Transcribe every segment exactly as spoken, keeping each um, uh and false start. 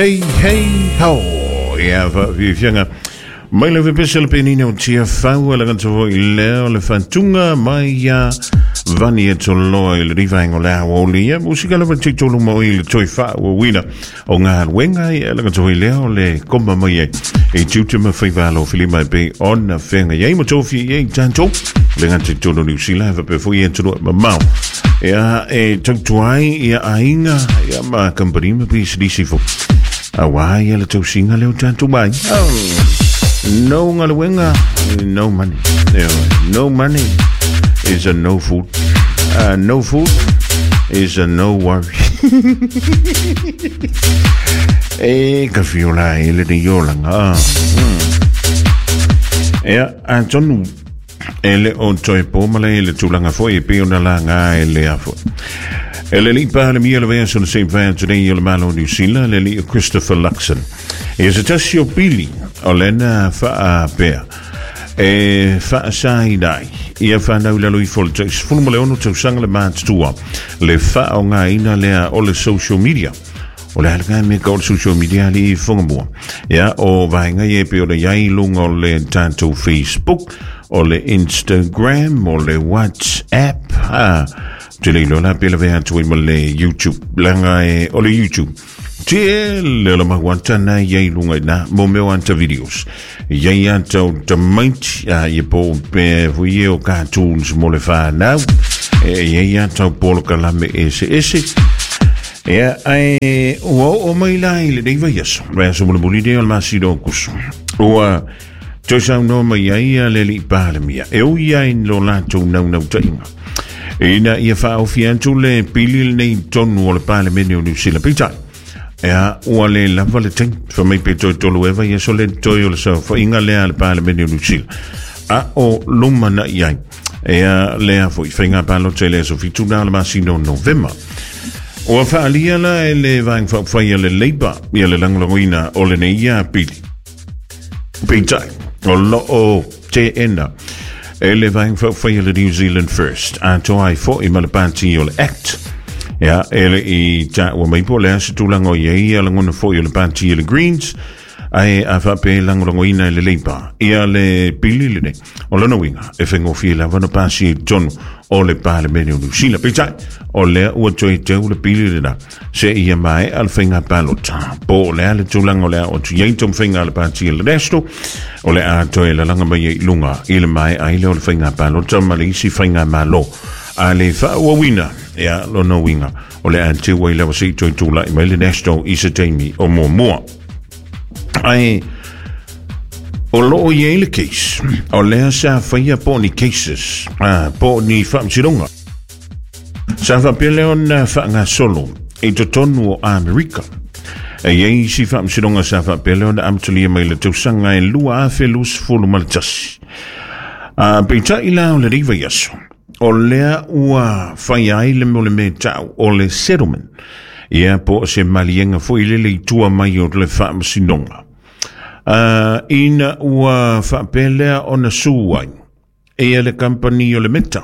Hey, hey, ho! Ia faafiafiaga mai le vepese le penina o tia fau le gata foi lea o le fatunga mai ia vani e toloa i le rivaenga o le aoauli. Ia musika lava te tolu ma oi le toi faauauina o galuega ia le gata foi lea o le koma mai ai e tiute ma faivalo filima e pei ona feagai ai ma tofi i ai tatou le gata i tolu Niu Sila faapea foi atunuu e mamao ia e tautuai ia aiga ia ma kampani ma pisinisi foi auā ia le tausiga lea o tatou mai. No galuega, no money. No money is a no food. Uh, no food is a no worry. E ka fiola e le nei olaga. Ia atonu e le o toe po ma le le tulaga foi e pei ona laga e le afo. E le alii Palemia le vaiaso na se i mavae atu nei o le Malo o Niu Sila, le alii o Christopher Luxon. Ia se tasi o pili o lena faapea e faasaina ai ia fanau i lalo ifo o le sefulu ma le ono tausaga le matutua le faaaogaina lea o le social media. O le a lena mea ka o le social media alii fogamua. Ia o vaega ia e pei ona i ai i luga o le tatou Facebook, o le Instagram, o le WhatsApp, a te le iloa la pe lavea atu ai ma le YouTube, leaga e o le YouTube tele o le mau ata na i ai i luga i na mo mea o ata videos. I ai ata o tamaiti, a ia po o pea foi ia o cartoons mo le whanau. E i ai ata o polokalame ese ese. Ia, ae ua oo mai la i lenei vaiaso, vaiaso mulimuli nei o le masina o Kuso. Ua toe saunoa mai ai ia le alii Palemia, e ui ai i lo latou naunautaiga ina ia faaofi atu le pili lenei i totonu o le Palemene o Niu Sila. Peitai, ia, ua le lava le taimi, fai mai pe toe tolu ea vaiaso le toe o le saofaiga lea a le Palemene o Niu Sila, a o lumanai ai ia lea foi faiga palota i le aso fitu na o le masina o Novema. Ua faaalia la e le Vaega Faaupufai a le Labour ia le lagolagoina o lenei ia pili. Peitai, o lo o teena e le Vaega Faaupufai a le New Zealand First, atoa ai foi ma le pati o le Act. Ia, e le i taua mai po o le a se tulaga o i ai ia lagona foi o le pati a le Greens, ae a faapea e lagolagoina e le Labour ia le pili lenei, o lona uiga e faigofie lava ona pasia i totonu o le Palemene o Niu Sila. Peitai, o lea ua toe teu le pili lena seia maea le faiga palota. Po o le a le tulaga o le a oo atu i ai taumafaiga a le pati a le National, o le a toe lalaga mai ai i luga i le maea ai lea o le faiga palota ma le isi faigamalo a le faaauauina. Ia, lona uiga, o le a teu ai lava se i toe tulai mai le National i se taimi o muamua. Ae o lo o i ai le case, o lea sa faia po o ni cases, ah, po o ni faamasinoga. Sa faapea lea ona faagasolo i totonu o Amerika. E i ai isi faamasinoga sa faapea lea ona amatalia mai le tausaga e lua afe luasefulu ma le tasi. Ah, peitai la o lenei vaiaso, o lea ua faia ai le mea o le mea tau o le settlement. Ia, po o se maliega foi lele i tua mai o le faamasinoga. Uh, ina ua faapea lea ona su ai ia le kampani o le Meta.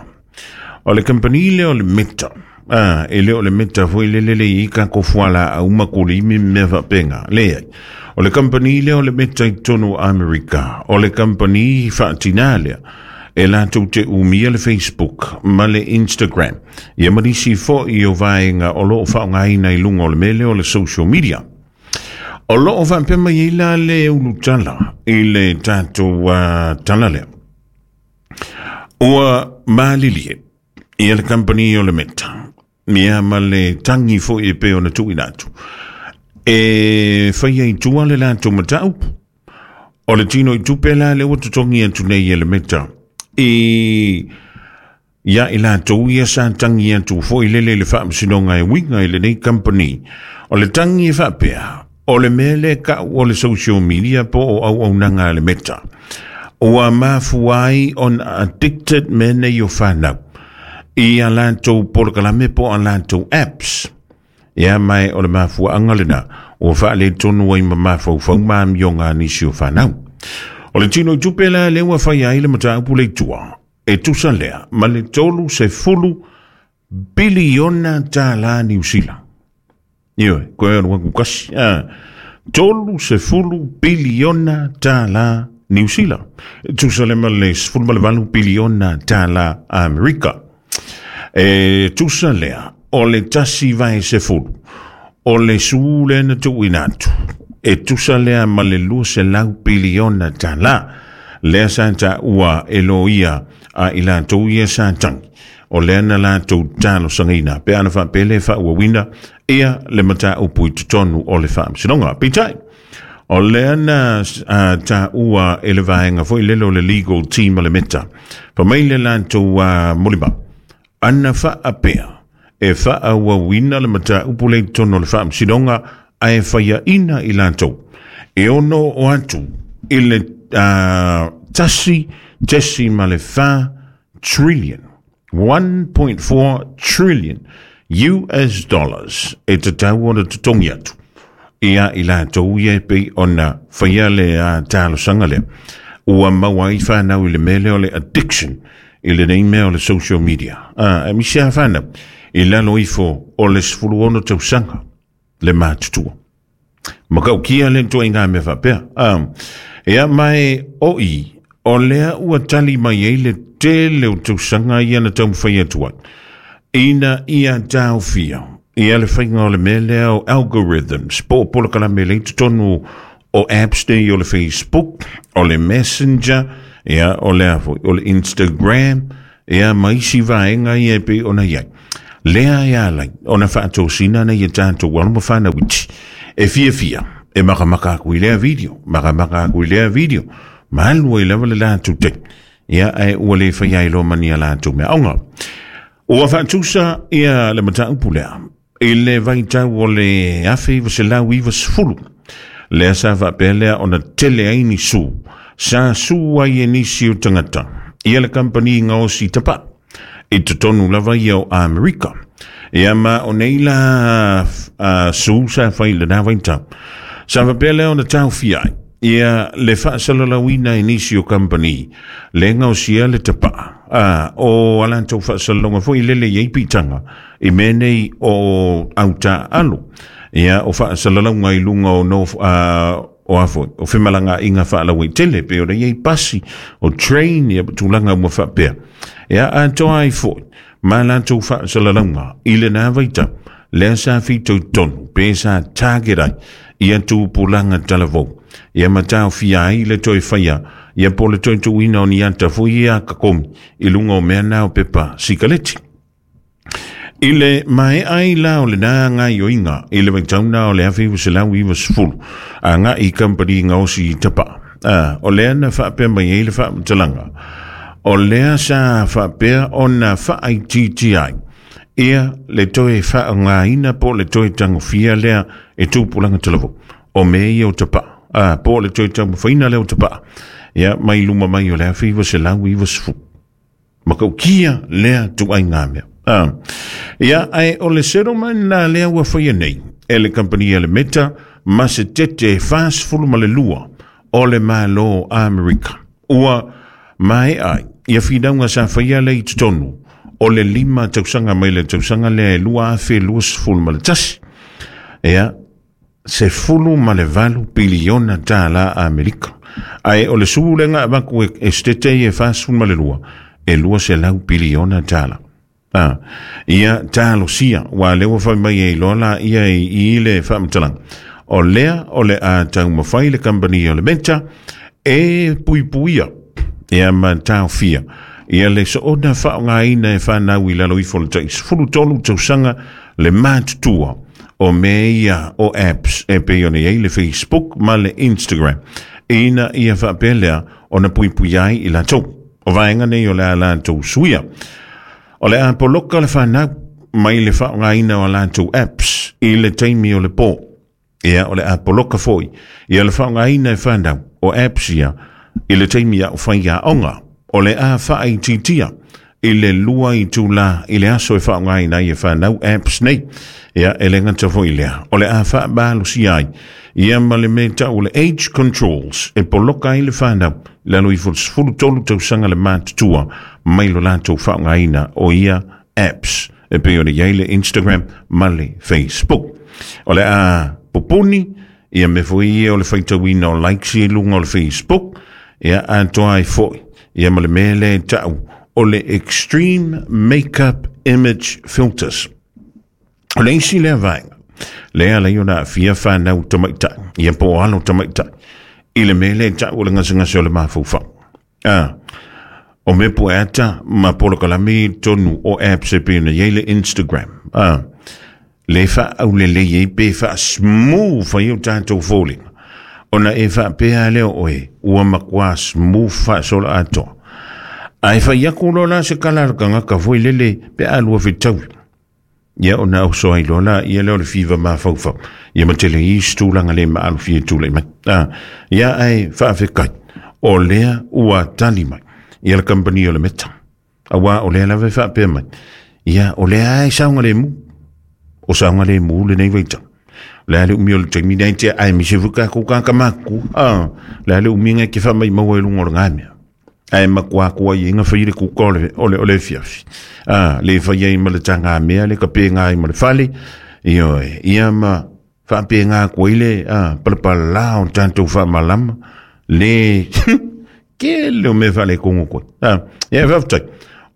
O le kampani lea o le Meta, ah, e le o le Meta foi lele le i ka ko fuala au makuli mi mea faapena. Leai. O le kampani lea o le Meta i totonu o Amerika, o le kampani faatina lea e latou te umia le Facebook ma le Instagram, ia ma nisi foi o vaega o lo o faaaogaina i luga o le mea lea o le social media. O lo o faapea mai ai la le ulutala i le tatou uh, tala lea. Ua malilie ia le kampani o le Meta, ia ma le tagi foi e pei ona tuuina atu, e faia i tua le latou mataupu. O le tino i tupe la lea ua totogi atu nei e le Meta i ia i latou ia sa tagi atu foi lele i le faamasinoga e uiga i lenei kampani. O le tagi e faapea, o le mea lea kau o le social media po o auaunaga a le Meta, ua mafua ai ona addicted mea nei o fanau i a latou polokalame po o a latou apps. Ia mae o le mafuaaga lena ua faaletonu ai ma mafaufau ma amioga a nisi o fanau. O le tino i tupe la lea ua faia ai le mataupu le i tua, e tusa lea ma le tolu sefulu piliona tālā Niu Sila. Ioe, koe o le waku kasi. Ah, Tolu sefulu biliona tālā New Zealand. Tusa le ma le sefulu ma le valu biliona tālā Amerika. E tusa lea, o le tasi vai sefulu, o le su le na tuuina atu. E tusa lea ma le lua selau biliona tālā. Lea sa taua e loia a i latou ia sa tangi. O lea na latou talosagiina pe ana faapele faauauina ia le mataupu i totonu o le faamasinoga. Peitai, o lea na uh, taua e le vaega foi lele o le legal team o le Meta. Fa mai le latou uh, molimau, ana faapea e faaauauina le mataupu le i totonu o le faamasinoga ae faiaina i latou. E ono o atu i le uh, tasi tesi ma le fa trillion, one point four trillion U S dollars e tatau ona totogi atu ia i latou ia e pei ona faia le uh, talosaga lea. Ua maua ai whanau i le mea lea o le addiction i lenei mea o le social media. Ah, e misi a whanau i lalo ifo o le sefulu ono tausaga le matutua. Makaukia le tua i ngā mea whapea. Um, ea mai o i, o lea ua tali mai ei le tele o tausaga ia na taumafai atu ai. Ina ia taofia, ia le faiga o le mea lea o algorithms, po o polokalame le i totonu o apps nei o le Facebook, o le Messenger, ia o lea foi, o le Instagram, ia ma isi vaega ia e pei ona iai. Lea e alai, ona faatosina na ia tātou alo ma whanau iti. E fia fia, e makamaka aku i lea video, makamaka aku i lea video, malu ai lava le lātou te. Ia e ua le whai ai lo mania lātou mea aonga. Ua faatusa ia le mataupu lea, i le vaitau o le afe iwa selau iwa sefulu. Lea sa faapea lea ona tele ai ni su, sa su ai e nisi o tangata, ia le kampani gaosi tapaa, i totonu lava ia o Amerika. Ia ma o nei la uh, su sa fai le nā vaitau. Sa faapea lea ona taofia ai, ia le faasalalauina e nisi o kampani, le gaosia le tapaa. Ah, o alantou faasalaloga foi lele iai piitaga i mea nei o autaaalo. Ia o faasalalauga i luga o no, uh, o a foi, o femalagaaiga faalauaitele pe o le iai pasi, o train, ia tulaga uma faapea. Ia atoa ai foi, ma latou faasalalauga i lenā vaitau, lea sa fitoitonu, pe sa target ai, ia tupulaga talavou. Ia ma taofia ai le toe faia, ia po le toe tuuina o ni ata foi ia kakomi, i luga o mea na o pepa sikaleti. I le mae ai la o le nā ngai oinga, i le vaitauna o le afe iwa selau iwa sefulu, a ngā i kampani gaosi i tapaa. Ah, o lea na faapea mai ai le faamatalaga. O lea sa faapea ona faaitiiti ai, ia le toe faaaogāina po le toe tagofia lea e tupulaga talavou. O mea ia o tapaa. Ah, po le toe taumafaina lea o tapaa. Ia mai luma mai o le afe iwa selau iwa sefulu. Makaukia lea tuaiga mea. Ah, ia ae o le settlement na lea ua faia nei e le kampani a le Meta ma se tete fasefulu ma le lua o le Malo Amerika. Ua mae ai ia finauga sa faia lea i totonu o le lima tausaga mai le tausaga lea e lua afe lua sefulu ma le tasi. Ia sefulu ma le valu piliona tālā Amerika. Ae o le sulega avaku e, e setete e fasefulu ma le lua e lua selau piliona tālā. Ah, ia talosia ua lea ua fai mai ai loa la ia i, i le faamatalaga. O lea o le a taumafai le kampani o le Meta e puipuia ia ma taofia ia le soona faaaogāina e whanau i lalo ifo le tai sefulu tolu tausaga le matutua o mea ia o apps e pei ona iai le Facebook ma le Instagram. Ina ia faapea lea ona puipui ai i latou. O vaega nei o le a latou suia. O le a poloka le whanau mai le faaaogāina o latou apps i le taimi o le pō. Ia o le a poloka foi ia le faaaogāina e whanau o apps ia i le taimi a o whai aoga. O le a faaitiitia i le lua i tūlā i le aso e faaaogāina ai e whanau apps nei. Ia e le gata foi lea. O le a faamalosia ai ia ma le mea tau o le age controls e poloka ai le whanau lalo ifo le sefulu tolu tausaga le matutua mai lo latou faaaogāina o ia apps e pei ona iai le Instagram ma le Facebook. O le a pupuni Ia mea foi ia o le faitauina o likes i luga o le Facebook, ia atoa ai foi ia ma le mea lea e ta'u o le Extreme Makeup Image Filters. O le isi lea vaega lea ala ai ona aafia fanau tamaitai, ia po o alo tamaitai i le mea lea e ta'u o le gasegase o le mafaufau. A o mea pueata ma polokalame i totonu o apps e pei ona i ai le Instagram, a le faaaulelei ai pe faasmooth ai o tatou foliga, ona e faapea lea o oe ua matua smooth faasola atoa. Ae fai aku loa la se kala a le tagata foi lele pe a lua fetaui, ia ona oso ai loa la ia lea o le fiva mafaufau, ia ma tele isi tulaga le maalofia e tulai mai. A ia ae faafetai o lea ua tali mai ia le kamupani o le Meta, auā o lea lava e faapea mai, ia o lea e saogalemu, o saogalemu lenei vaitau. O le a le umi o le taimi nei tea aemaise foi tatou tagata matutua, a le a le umiga e te faamaumau ai luga o lena mea, ae matua atu ai na fai le kuka o le, o le, o le afiafi, a le fai ai ma le tagamea le kapega ai ma le fale, ioe, ia ma faapega atu ai le a palapalā o tatou faamalama le tele o mea faaletonu koe. A ia faafetai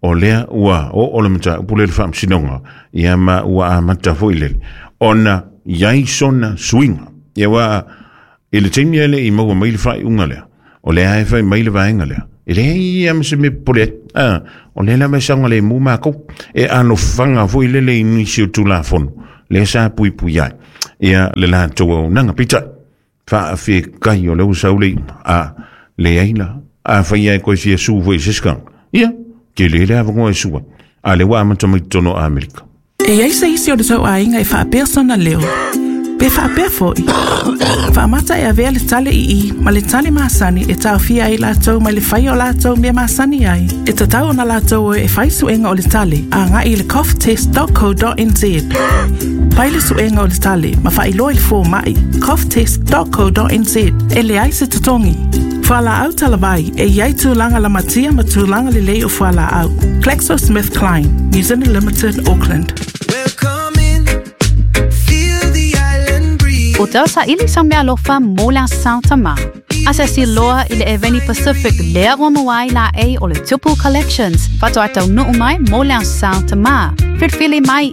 o lea ua oo le mataupu le le faamasinoga, ia ma ua amata foi lele ona iai sona suiga. Ia ua i le taimi e le i maua mai le faaiuga lea, o lea e fai mai le vaega lea e leai ia ma se mea popole ai, a o lea lava e saogalemu makou e alofaga foi lele i nisi o Tulafono lea sa puipui ai ia le latou auaunaga. Peitai faafetai o lea ua sau le iuga. A leai la, afai e koe fia su foi i se isi tagata, ia tele le avanoa e su ai, a lea ua amata mai totonu o Amerika. E i ai se isi o le tou aiga e faapea sona leo, pe faapea foi. Faamata e avea le tale ii ma le tale masani e taofia ai latou mai le faia o latou mea masani ai. E tatau ona latou o e fai suega o le tale agai i le cough test dot co dot nz. Fai le suega o le tale ma faailoa i le fomai cough test dot co dot nz. E leai se totogi. Fualaau talavai e i ai tulaga lamatia ma tulaga lelei o fualaau. GlaxoSmithKline, New Zealand Limited, Auckland. Welcome in, feel the island breeze. O tau saili sa meaalofa mo le Aso Tama. Asiasi loa i le Eveni Pacific lea ua maua ai laei o le Tupu Collections. Faatoa taunuu mai mo le Aso Tama. Filifili mai.